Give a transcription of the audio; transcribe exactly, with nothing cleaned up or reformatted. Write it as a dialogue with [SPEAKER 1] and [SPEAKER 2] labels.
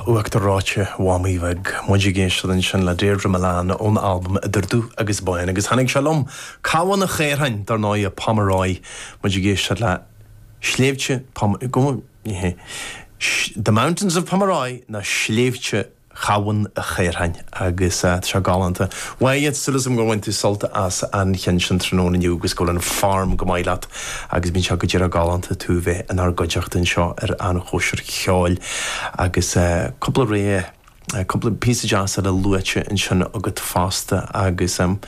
[SPEAKER 1] Uachtar reoite Mhamaí Bheag muid ag éisteacht ansin le Deirdre Mullane ón albam Idir Dubh agus Bán agus tháinig sé liom Cabhán an Chaorthainn dar ndóigh Pomeroy muid ag éisteacht le Sléibhte go The Mountains of Pomeroy na sléibhte Chabhán an Chaorthainn agus uh, sé galánta. Why súil agam gur bhain tú sult as an cheann sin tráthnóna inniu agus go an farm go maith leat agus bíonn sé go dtí galánta tú bheith inár gcuideachta anseo ar an chóisir cheoil agus uh, cúpla ré cúpla píosa deas a luaite ansin agat fosta agus um,